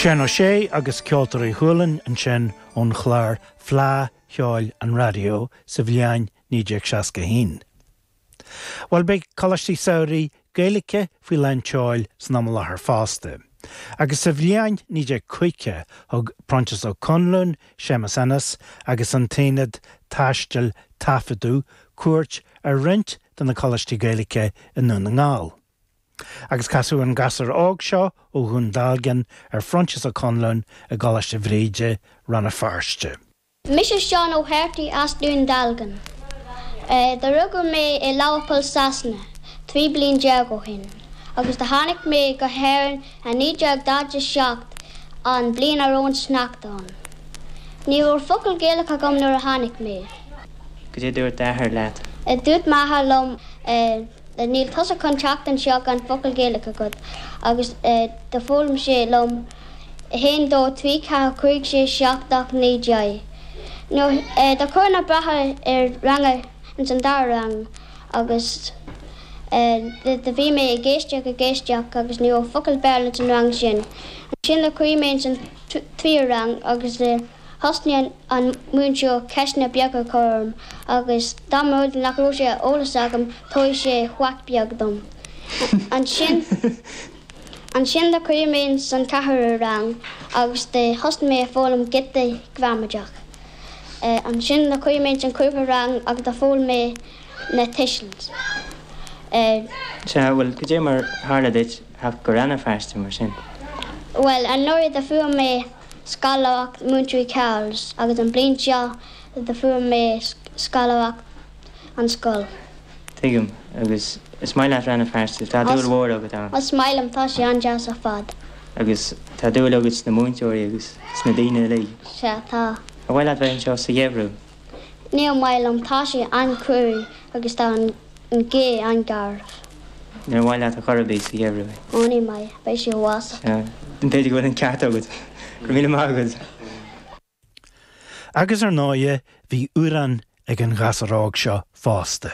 Seán Ó Sé agus Ceoltóirí Chualann ansin ón chlár Fleadh Cheoil an Raidió sa bhliain 1961. Bhuel, beidh Coláistí Samhraidh Gaeilge faoi lán tseoil san am i láthair fosta. Agus sa bhliain 1950 thug Proinsias Ó Conluain, Séamus Ennis agus an tAonad Taistil Taifeadadh cuairt ar roinnt de na Coláistí Gaeilge i nDún na nGall. Agus casadh an gasúr óg seo ó Dhún Dealgan ar Phroinsias Ó Conluain i gColáiste Bhríde, Rann na Feirste. Mise Seán Ó hEartaigh as Dún Dealgan. Do rugadh mé i Leamharpúl Sasana 13 bliain ó shin agus do tháinig mé go hÉirinn i 1947 an bliain a raibh an sneachta ann. Ní raibh focal Gaelach agam nuair a tháinig mé. Goidé dúirt d'athair leat? Dúirt m'athair liom Níl tusa chun teacht anseo gan focal Gaelach agat agus do foghlaim sé liom 1, 2, 3, 4, 5, 6, 7, 8, 9, 10. Nuair do chuir na bráithre ar ranga ins an dara rang agus do bhí mé ag éisteacht ag éisteacht agus ní raibh focal Béarla ins an rang sin. Ansin do chuaigh mé ins an tríú rang agus Thosnaigh an múinteoir ceisteanna beaga a chur orm agus dá mba rud nach raibh sé eolas agam tabharfaidh sé whack beag dom. Ansin ansin do chuaigh mé ins an ceathrú rang agus do thosnaigh mé ag foghlaim giota gramadach. Ansin do chuaigh mé ins an cúigiú rang agus do foghlaim mé na tuisil. Sea, bhuel, cad é mar tharla duit theacht go Rann na Feirste mar sin? Bhuel, anuraidh do fuair mé scoláireacht Múinteoirí Charles agus an bliain seo do fuair mé scoláireacht an scoil. Tuigim. Agus is maith leat Rann na Feirste, tá dúil mhór agat ann. Is maith liom, tá sé an-deas ar fad. Agus tá dúil agat sna múinteoirí agus sna daoine uilig. Sea, tá. Ar mhaith leat bheith anseo sa gheimhreadh? Níor mhaith liom, tá sé an-fhuar agus tá an gaoth an-gharbh. Níor mhaith leat ar chor ar bith sa gheimhreadh? Ó ní maith, beidh sé uafásach. Sea, b'fhéidir go bhfuil an ceart agat. Go raibh míle maith agat. Agus ar ndóighe, bhí amhrán ag an ghasúr óg seo fosta.